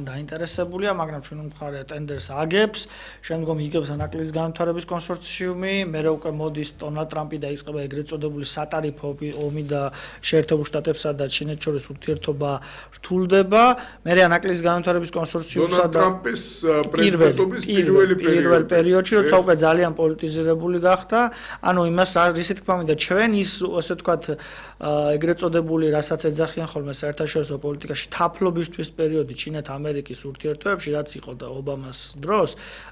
დაინტერესებულია, მაგრამ ჩვენ მხარე ტენდერს აგებს, შემდგომ იგებს ანაკლიის განვითარების კონსორციუმი, მერე უკვე მოდის დონალდ ტრამპი და იწყება ეგრეთ წოდებული სატარიფო ომი და შეერთებულ შტატებსა და ჩინეთს შორის ურთიერთობა რთულდება. მერე ანაკლიის განვითარების კონსორციუმსა და ტრამპის პრეზიდენტობის პირველ პერიოდში, როცა უკვე ძალიან პოლიტიზირებული გახდა, ანუ იმას რისი თქმა მინდა ჩვენ ის ასე ვთქვათ ეგრეთ წოდებული რასაც ეძახიან ხოლმე საერთაშორისო პოლიტიკაში თაფლობისთვის პერიოდი ჩინეთ-ამერიკის ურთიერთობებში, რაც იყო და ობამას დროს,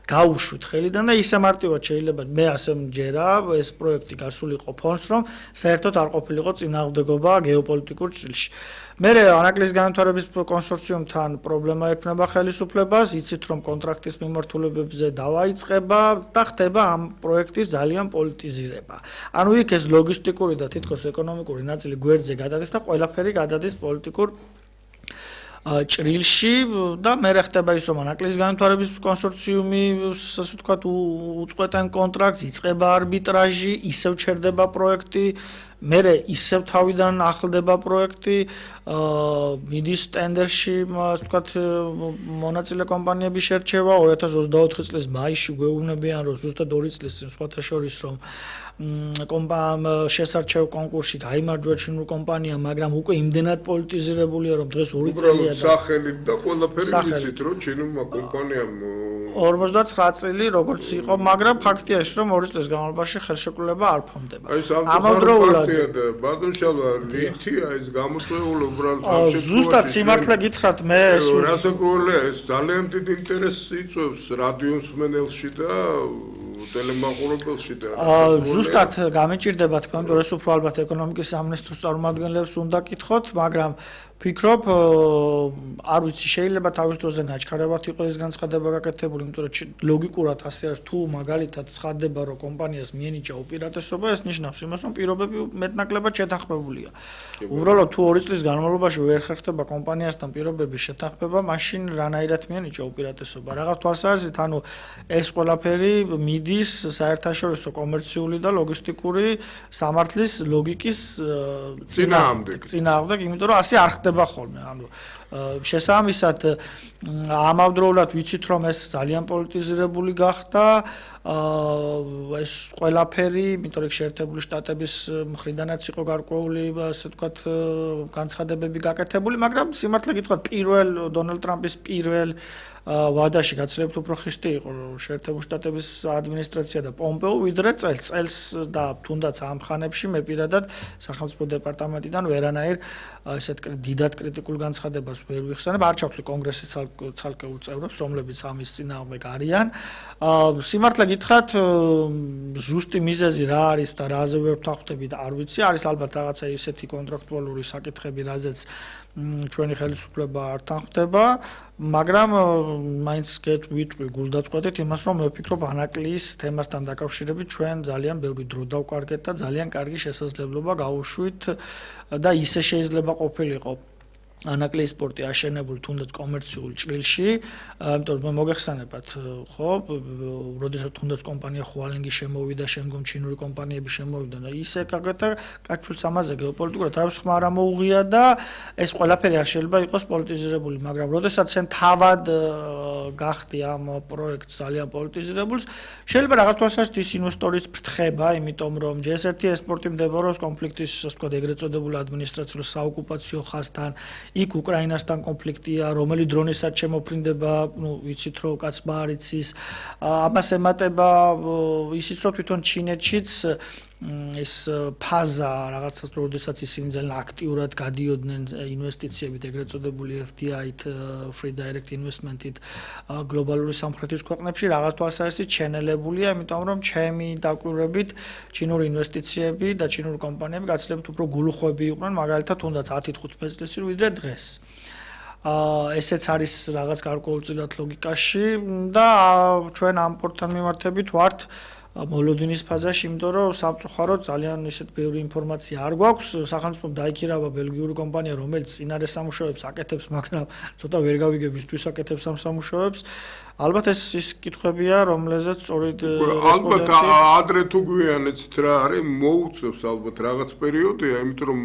გაუშვით ხელიდან და ისე მარტივად შეიძლება მე ასე მჯერა ეს პროექტი გასულიყო ფონს, რომ საერთოდ არ ყოფილიყო წინააღმდეგობა გეოპოლიტიკურ ჭრილში. მერე ანაკლიის განვითარების კონსორციუმთან პრობლემა ექნება ხელისუფლებას, იცით რომ კონტრაქტის მიმართულებებზე დავაიწყება და ხდება ამ პროექტის ძალიან პოლიტიზირება. ანუ იქ ეს ლოგისტიკური და თითქოს ეკონომიკური ნაწილი გვერდზე გადადის და ყველაფერი გადადის პოლიტიკურ ჭრილში და მერე ხდება ის რომ ანაკლიის განვითარების კონსორციუმი ასე ვთქვათ უწყვეტენ კონტრაქტს, იწყება არბიტრაჟი, ისევ ჩერდება პროექტი, მერე ისევ თავიდან ახლდება პროექტი, მიდის ტენდერში, ასე ვთქვათ, მონაწილე კომპანიების შერჩევა 2024 წლის მაისში გვეუბნებიან, რომ ზუსტად 2 წლის წინ სხვათა შორის რომ შესარჩევ კონკურსში გაიმარჯვა ჩინურ კომპანიამ, მაგრამ უკვე იმდენად პოლიტიზირებულია, რომ დღეს 2 წელია და სახელით და ყველაფერი იცით, რომ ჩინურმა კომპანიამ 59 წელი როგორც იყო, მაგრამ ფაქტია ის, რომ 2 წლის განმავლობაში ხელშეკრულება არ ფორმდება. ამავდროულად ბადონშალვა რითია ეს გამოწვეული უბრალოდ ზუსტად სიმართლე გითხრათ მე ეს რასაკურველია ეს ძალიან დიდი ინტერესი იწვევს რადიომსმენელში და ტელემაყურებელში და ზუსტად გამიჭირდება თქმა უნდა ეს უფრო ალბათ ეკონომიკის სამინისტროს წარმომადგენლებს უნდა კითხოთ, მაგრამ ვფიქრობ, არ ვიცი, შეიძლება თავის დროზე ნაჩქარებად იყო ეს განცხადება გაკეთებული, იმიტომ რომ ლოგიკურად ასე არის, თუ მაგალითად ცხადდება, რომ კომპანიას მიენიჭა უპირატესობა, ეს ნიშნავს იმას, რომ პირობები მეტნაკლებად შეთანხმებულია. უბრალოდ თუ 2 წლის განმავლობაში ვერ ხერხდება კომპანიასთან პირობების შეთანხმება, მაშინ რანაირად მიენიჭა უპირატესობა. რაღაც თვალსაზრისით, ანუ ეს ყველაფერი მიდის საერთაშორისო კომერციული და ლოგისტიკური სამართლის ლოგიკის წინააღმდეგ, იმიტომ რომ ასე არ ხდება ხოლმე. ანუ შესაბამისად ამავდროულად ვიცით რომ ეს ძალიან პოლიტიზირებული გახდა ეს ყველაფერი, იმიტომ რომ შეერთებული შტატების მხრიდანაც იყო გარკვეული, ასე ვთქვათ, განცხადებები გაკეთებული, მაგრამ სიმართლე გითხრათ, დონალდ ტრამპის პირველ ვადაში გაცილებით უფრო ხისტი იყო შეერთებული შტატების ადმინისტრაცია და პომპეო, ვიდრე წელს და თუნდაც ამ ხანებში მე პირადად სახელმწიფო დეპარტამენტიდან ვერანაირ ესეთ დიდად კრიტიკულ განცხადებას ვერ ვიხსენებ, არ ჩავთვლი კონგრესის ცალკეულ წევრებს, რომლებიც ამის წინააღმდეგ არიან. სიმართლე გითხრათ, ზუსტი მიზეზი რა არის და რაზე ვერ ვთანხმდებით, არ ვიცი, არის ალბათ რაღაცა ისეთი კონტრაქტუალური საკითხები, რაზეც ჩვენი ხელისუფლება არ თანხმდება, მაგრამ მაინც ვიტყვი გულდაწყვეტით იმას, რომ მე ვფიქრობ ანაკლიის თემასთან დაკავშირებით ჩვენ ძალიან ბევრი დრო დავკარგეთ და ძალიან კარგი შესაძლებლობა გავუშვით და ისე შეიძლება ყოფილიყო ანაკლიის პორტი აშენებული თუნდაც კომერციულ ჭრილში, იმიტომ რომ მოგეხსენებათ, ხო, როდესაც თუნდაც კომპანია ხუალინგი შემოვიდა, შემდგომ ჩინური კომპანიები შემოვიდნენ და ისე გაკეთა კაჩულს ამაზე გეოპოლიტიკურად თავის ხმა არ მოუღია და ეს ყველაფერი არ შეიძლება იყოს პოლიტიზირებული, მაგრამ როდესაც შენ თავად გახდი ამ პროექტს ძალიან პოლიტიზირებულს, შეიძლება რაღაც თვალსაზრისით ის ინვესტორის ფრთხება, იმიტომ რომ ჯერ-ერთი ესპორტი მდებარეობს კონფლიქტის, ასე ვთქვათ, ეგრეთ წოდებული ადმინისტრაციულ საოკუპაციო ხაზთან. იქ უკრაინასთან კონფლიქტია, რომელი დრონისაც შემოფრინდება, ვიცით რომ კაცმა არ იცის. ამას ემატება ისიც რომ თვითონ ჩინეთშიც ეს ფაზა რაღაცას როდესაც ისინი ძალიან აქტიურად გადიოდნენ ინვესტიციებით, ეგრეთ წოდებული FDI-ით, Free Direct Investment-ით გლობალური სამხრეთის ქვეყნებში რაღაც თვალსაზრისით შენელებულია, იმიტომ რომ ჩემი დაკვირვებით ჩინური ინვესტიციები და ჩინური კომპანიები გაცილებით უფრო გულუხვები იყვნენ, მაგალითად თუნდაც 10-15 წლის წინ ვიდრე დღეს. ესეც არის რაღაც გარკვეულწილად ლოგიკაში და ჩვენ ამ პორტთან მიმართებით ვართ მოლოდინის ფაზაში, იმიტომ რომ სამწუხაროდ ძალიან ისეთ ბევრი ინფორმაცია არ გვაქვს. სახელმწიფომ დაიქირავა ბელგიური კომპანია, რომელიც წინარე სამუშაოებს აკეთებს, მაგრამ ცოტა ვერ გავიგებ ისთვის აკეთებს ამ სამუშაოებს. ალბათ ეს ის კითხვებია, რომლეზეც სწორედ ალბათ ადრე თუ გვიანეც რა არის, მოუწევს ალბათ რაღაც პერიოდია, იმიტომ რომ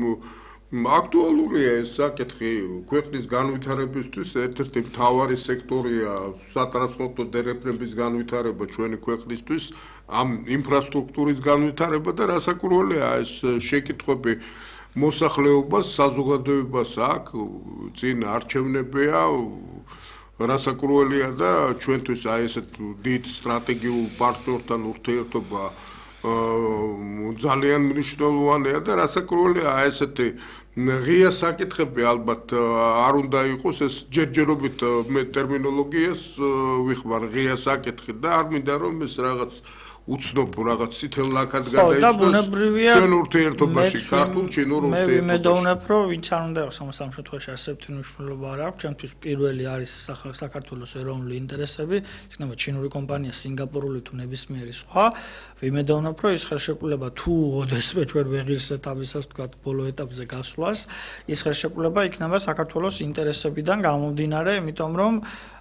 აქტუალურია ეს საკითხი ქვეყნის განვითარებისთვის ერთ-ერთი მთავარი სექტორია სატრანსპორტო დერეფნების განვითარება ჩვენი ქვეყნისთვის ამ ინფრასტრუქტურის განვითარება და რასაკვირველია ეს შეკითხვები მოსახლეობას საზოგადოებას აქვს წინ არჩევნებია რასაკვირველია და ჩვენთვის აი ესეთ დიდ სტრატეგიულ პარტნიორთან ურთიერთობა ძალიან მნიშვნელოვანია და რასაკვირველია აი ესეთი ღია საკითხები ალბათ არ უნდა იყოს ეს ჯერჯერობით მე ტერმინოლოგიას ვიხმარ ღია საკითხი და არ მინდა რომ ეს რაღაც უცნობ რაღაც ცითელ ლაქად გადაიცნოს ჩვენ ურთიერთობაში ქართულ ჩინურ ურთიერთობაში. მე მედოვნებ რომ ვინც არ უნდა იყოს ამ შემთხვევაში ასეთი მნიშვნელობა არ აქვს ჩემთვის პირველი არის საქართველოს ეროვნული ინტერესები იქნება ჩინური კომპანია სინგაპურული თუ ნებისმიერი სხვა ვიმედოვნებ რომ ის ხელშეკრულება თუ ოდესმე ჩვენ ვეღირსებთ ამისას თქვა ბოლო ეტაპზე გასვლას ის ხელშეკრულება იქნება საქართველოს ინტერესებიდან გამომდინარე იმიტომ რომ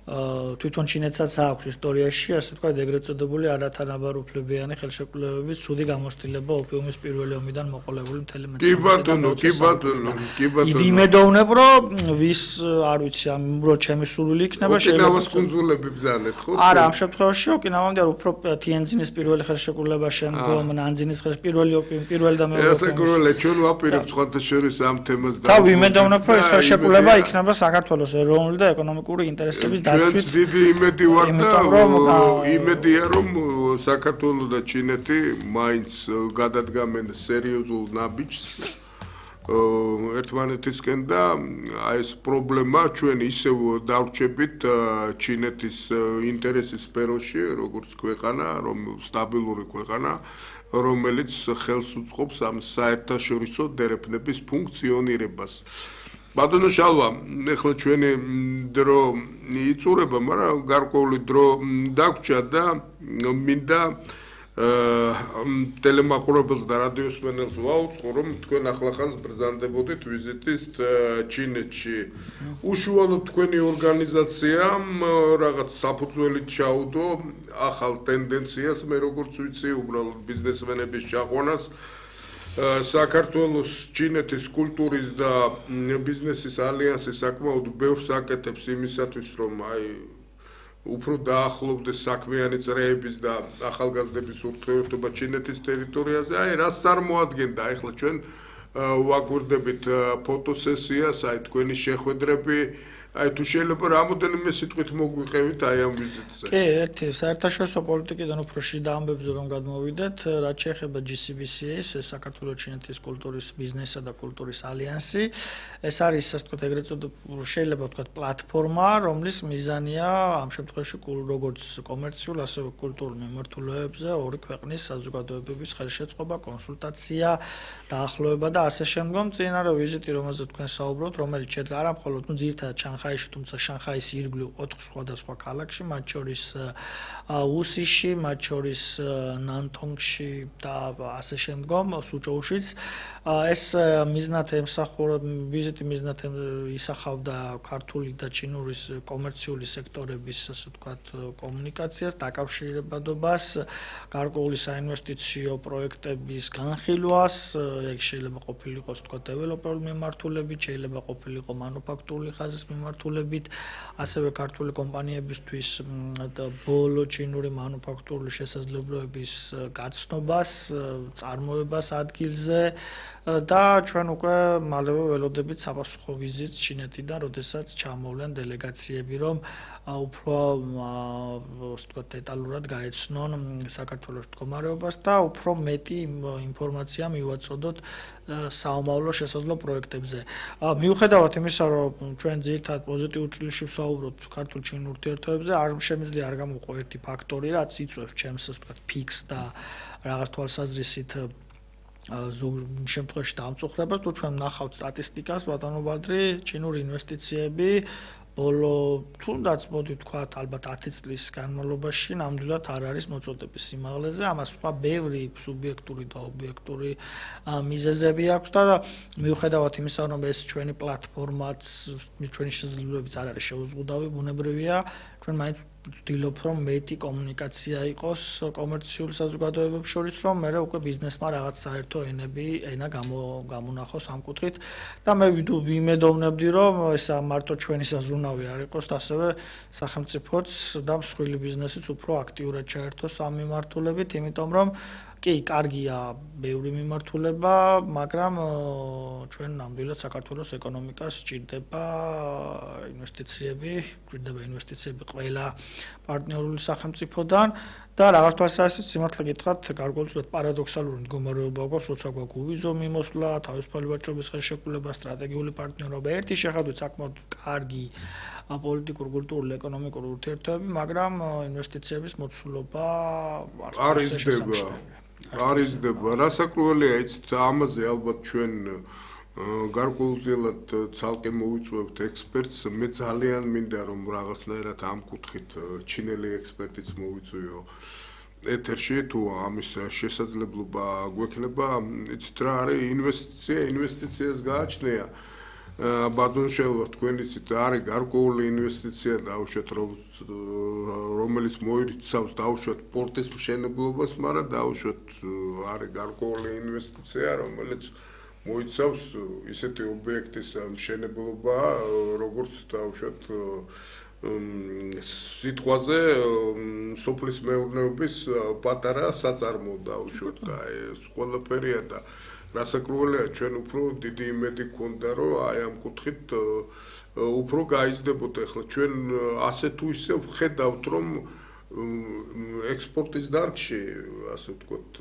თვითონ ჩინეთსაც აქვს ისტორიაში ასე თქვა ეგრეთ წოდებული არათანაბარუფლებიანი ხელშეკრულებების ცუდი გამოცდილება ოპიუმის პირველი ომიდან მოყოლებული მთელი მეცნიერება. კი ბატონო. ვიმედოვნებ რომ ვის არ ვიცი ამ უბრალოდ ჩემი სურვილი იქნება ოკინავას კუნძულები ბრძანეთ ხო? არა ამ შემთხვევაში ოკინავამდე უფრო თიენძინის პირველი ხელშეკრულება შემდგომ ნანძინის პირველი ოპიუმი პირველი და მეორე ოპიუმი. ჩვენ ვაპირებთ სხვათა შორის ამ თემას და ვიმედოვნებ რომ ეს ხელშეკრულება იქნება საქართველოს ეროვნული და ეკონომიკური ინტერესების ჩვენც დიდი იმედი ვარ და იმედია რომ საქართველოს და ჩინეთი მაინც გადადგამენ სერიოზულ ნაბიჯს ერთმანეთისკენ და აი ეს პრობლემა ჩვენ ისევ დავრჩებით ჩინეთის ინტერესის სფეროში როგორც ქვეყანა რომ სტაბილური ქვეყანა რომელიც ხელს უწყობს ამ საერთაშორისო დერეფნების ფუნქციონირებას ბატონო შალვა, ეხლა ჩვენი დრო იწურება, მაგრამ გარკვეული დრო დაგვრჩა და მინდა ტელემაყურებელს და რადიოსმენელს ვაუწყო, რომ თქვენ ახლახანს ბრძანდებოდით ვიზიტით ჩინეთში. უშუალოდ თქვენი ორგანიზაციამ რაღაც საფუძვლით ჩაუდო ახალ ტენდენციას, მე როგორც ვიცი, უბრალოდ ბიზნესმენების ჩაყვანას. საქართველოს ჩინეთის კულტურის და ბიზნესის ალიანსი საკმაოდ ბევრს აკეთებს იმისათვის რომ აი უფრო დაახლოვდეს საქმიანი წრეების და ახალგაზრდების ურთიერთობა ჩინეთის ტერიტორიაზე აი რას წარმოადგენდა ეხლა ჩვენ ვაგვირდებით ფოტოსესიას აი თქვენი შეხვედრები აი თუ შეიძლება რამოდენიმე სიტყვით მოგვიყევით აი ამ ვიზიტზე. კი, ერთი საერთაშორისო პოლიტიკიდან უფრო შიდა ამბებზე რომ გადმოვიდეთ, რაც შეეხება GCBCA-ს, საქართველოს ჩინეთის კულტურის ბიზნესსა და კულტურის ალიანსი. ეს არის ასე ვთქვათ, ეგრეთ წოდებული შეიძლება ვთქვათ პლატფორმა, რომლის მიზანია ამ შემთხვევაში როგორც კომერციულ, ასევე კულტურულ მიმართულებებზე ორი ქვეყნის საზოგადოებების ხელშეწყობა, კონსულტაცია, დაახლოება და ასე შემდგომ. წინარე ვიზიტი, რომელზეც თქვენ საუბრობთ, რომელიც შედგა არა მხოლოდ ძირითადად შანხაიში, თუმცა შანხაის ირგვლივ 4 სხვადასხვა ქალაქში, მათ შორის უსიში, მათ შორის ნანტონგში და ასე შემდგომ, სუჭოუშიც. ეს მიზნად ემსახურა ვიზიტი მიზნად ისახავდა ქართული და ჩინურის კომერციული სექტორების, ასე ვთქვათ, კომუნიკაციას, დაკავშირებადობას, გარკვეული საინვესტიციო პროექტების განხილვას, ეგ შეიძლება ყოფილიყოს, ვთქვათ, დეველოპერული მიმართულებით, შეიძლება ყოფილიყო მანუფაქტურული ხაზის მიმართულებით, ასევე ქართული კომპანიებისთვის ბოლო ჩინური მანუფაქტურული შესაძლებლობების გაცნობას, წარმოებას ადგილზე და ჩვენ უკვე მალევე ველოდებით საპასუხო ვიზიტს ჩინეთიდან, როდესაც ჩამოვლენ დელეგაციები, რომ უფრო ვთქვათ, დეტალურად გაეცნონ საქართველოს მდგომარეობას და უფრო მეტი ინფორმაცია მივაწოდოთ საომავლო შესაძლო პროექტებზე. მიუხედავად იმისა, რომ ჩვენ ძირითადად პოზიტიურ ჭრილში ვსაუბრობთ ქართულ-ჩინურ ურთიერთობებზე, არ შემიძლია არ გამოვყო ერთი ფაქტორი, რაც იწვევს ჩემს, ასე ვთქვათ, ფიქს და რაღაც თვალსაზრისით ზოგ შემთხვევაში დამწუხრებას, თუ ჩვენ ვნახავთ სტატისტიკას, ბატონო ბადრი, ჩინური ინვესტიციები ბოლო თუნდაც მოდი ვთქვათ, ალბათ 10 წლის განმავლობაში ნამდვილად არ არის მოწოდების სიმაღლეზე, ამას სხვა ბევრი სუბიექტური და ობიექტური მიზეზები აქვს და მიუხედავად იმისა, რომ ეს ჩვენი პლატფორმაც, ჩვენი შესაძლებლობებიც არ არის შეუზღუდავი, ბუნებრივია, ჩვენ მაინც ვცდილობ რომ მეტი კომუნიკაცია იყოს კომერციულ საზოგადოებებს შორის, რომ მე უკვე ბიზნესმა რაღაც საერთო ენა გამონახოს ამ კუთხით და მე ვიმედოვნებდი რომ ეს მარტო ჩვენი საზრუნავი არ იყოს, ასევე სახელმწიფოც და მსხვილი ბიზნესიც უფრო აქტიურად ჩაერთოს ამ მიმართულებით, იმიტომ რომ კი, კარგია ბევრი მიმართულება, მაგრამ ჩვენ ნამდვილად საქართველოს ეკონომიკას სჭირდება ინვესტიციები ყველა პარტნიორული სახელმწიფოდან და რაღაც თვალსაზრისით სიმართლე გითხრათ, გარკვეულწილად პარადოქსალური მდგომარეობა გვაქვს, როცა გვაქვს უვიზო მიმოსვლა, თავისუფალი ვაჭრობის ხელშეკრულება, სტრატეგიული პარტნიორობა, ერთი შეხედვით საკმაოდ კარგი პოლიტიკურ, კულტურული, ეკონომიკური ურთიერთობები, მაგრამ ინვესტიციების მოცულობა არ იზრდება. რასაკვირველია, იცით, ამაზე ალბათ ჩვენ გარკვეულწილად ცალკე მოვიწვევთ ექსპერტს, მე ძალიან მინდა რომ რაღაცნაირად ამ კუთხით ჩინელი ექსპერტიც მოვიწვიო ეთერში, თუ ამის შესაძლებლობა გვექნება, იცით რა არის ინვესტიციას გააჩნია. ბატონშელა თქვენ იცით არის გარკვეული ინვესტიცია დაუშვათ რომელიც მოიცავს დაუშვათ პორტის მშენებლობას, მაგრამ დაუშვათ არის გარკვეული ინვესტიცია რომელიც მოიცავს ისეთი ობიექტის მშენებლობა, როგორც დაუშვათ სიტყვაზე სოფლის მეურნეობის პატარა საწარმო დაუშვათ და ეს ყველაფერია და რასაკვირველია ჩვენ უფრო დიდი იმედი გქონდა რომ აი ამ კუთხით უფრო გაიზრდებოდა ახლა ჩვენ ასე თუ ისე ვხედავთ რომ ექსპორტის დარგში ასე ვთქვათ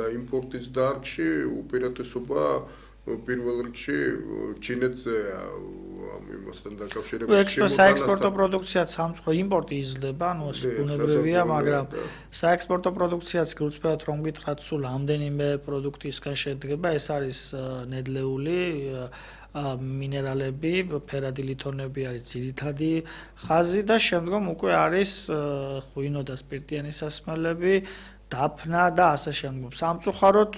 და იმპორტის დარგში უპირატესობა პირველ რიგში ჩინეთზე ამ იმასთან დაკავშირებით საექსპორტო პროდუქციაც სამწყო იმპორტი იზრდება, ანუ ეს ბუნებრივია, მაგრამ საექსპორტო პროდუქციაც გულწრფელად რომ გითხრათ, სულ ამდენიმე პროდუქტისგან შედგება, ეს არის ნედლეული მინერალები, ფერადი ლითონები არის ძირითადი ხაზი და შემდგომ უკვე არის ღვინო და სპირტიანი სასმელები, დაფნა და ასე შემდგომ. სამწუხაროდ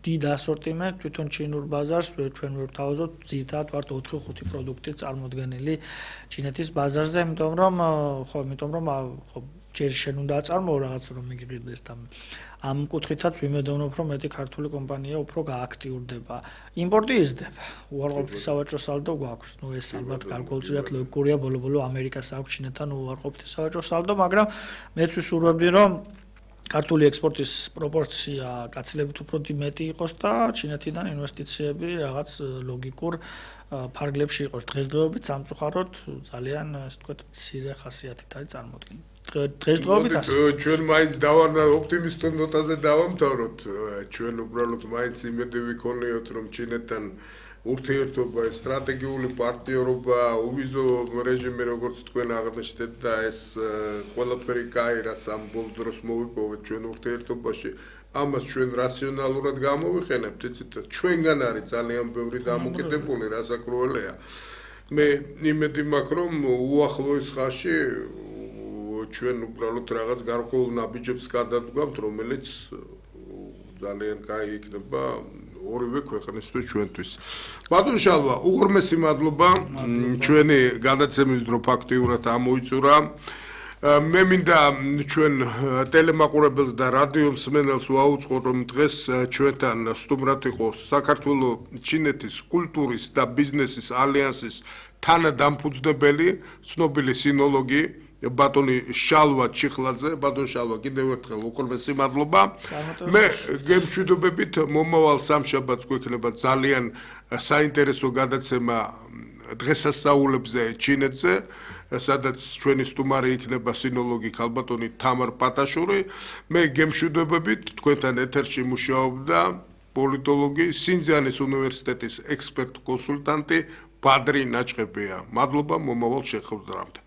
დიდ ასორტიმენტ თვითონ ჩინურ ბაზარს ჩვენ ვერ ვთავაზობთ, ძირითადად ვართ 4-5 პროდუქტი წარმოდგენილი ჩინეთის ბაზარზე, იმიტომ რომ ჯერ შენ უნდა აწარმოო რაღაც რომ მიგიყიდეს და ამ კუთხითაც ვიმედოვნებ რომ მეტი ქართული კომპანია უფრო გააქტიურდება. იმპორტი იზრდება. უარყოფითი სავაჭრო სალდო გვაქვს. ნუ ეს ალბათ გარკვეულწილად ლოგიკურია, ბოლო-ბოლო ამერიკას აქვს ჩინეთთან უარყოფითი სავაჭრო სალდო, მაგრამ მეც ვისურვებდი რომ ქართული ექსპორტის პროპორცია გაცილებით უფრო მეტი იყოს და ჩინეთიდან ინვესტიციები რაღაც ლოგიკურ ფარგლებში იყოს. დღესდღეობით სამწუხაროდ ძალიან ასე ვთქვათ მცირე ხასიათით არის წარმოდგენილი. დღესდღეობით ასე. ჩვენ მაინც ოპტიმისტურ ნოტაზე დავამთავროთ. ჩვენ უბრალოდ მაინც იმედი ვიქონიოთ რომ ჩინეთთან ურთიერთობა, სტრატეგიული პარტნიორობა, უვიზო რეჟიმი როგორც თქვენ აღნიშნეთ და ეს ყველაფერი კაირას ამ ბოლო დროს მოვიპოვეთ ჩვენ ურთიერთობაში. ამას ჩვენ რაციონალურად გამოვიყენებთ, იცით, ჩვენგან არის ძალიან ბევრი დამოკიდებული, რასაკვირველია. მე იმედი მაქვს რომ უახლოეს ხანში ჩვენ უბრალოდ რაღაც გარკვეულ ნაბიჯებს გადავდგამთ, რომელიც ძალიან კაი იქნება ორივე ქვეყნისთვის ჩვენთვის. ბატონ შალვა, უღრმესი მადლობა ჩვენი გადაცემის დრო ფაქტიურად ამოიწურა. მე მინდა ჩვენ ტელემაყურებელს და რადიო მსმენელს ვაუწყოთ რომ დღეს ჩვენთან სტუმრად იყო საქართველოს ჩინეთის კულტურის და ბიზნესის ალიანსის თანადამფუძნებელი, ცნობილი სინოლოგი ბატონი შალვა ჩიხლაძე. ბატონ შალვა, კიდევ ერთხელ უღრმესი მადლობა. მე გემშვიდობებით მომავალ სამშაბათს გვექნება ძალიან საინტერესო გადაცემა დღესასწაულებზე ჩინეთზე, სადაც ჩვენი სტუმარი იქნება სინოლოგი ქალბატონი თამარ პატაშური. მე გემშვიდობებით თქვენთან ეთერში მუშაობდა პოლიტოლოგი, სინძიანის უნივერსიტეტის ექსპერტ კონსულტანტი ბადრი ნაჭყებია. მადლობა მომავალ შეხვედრამდე.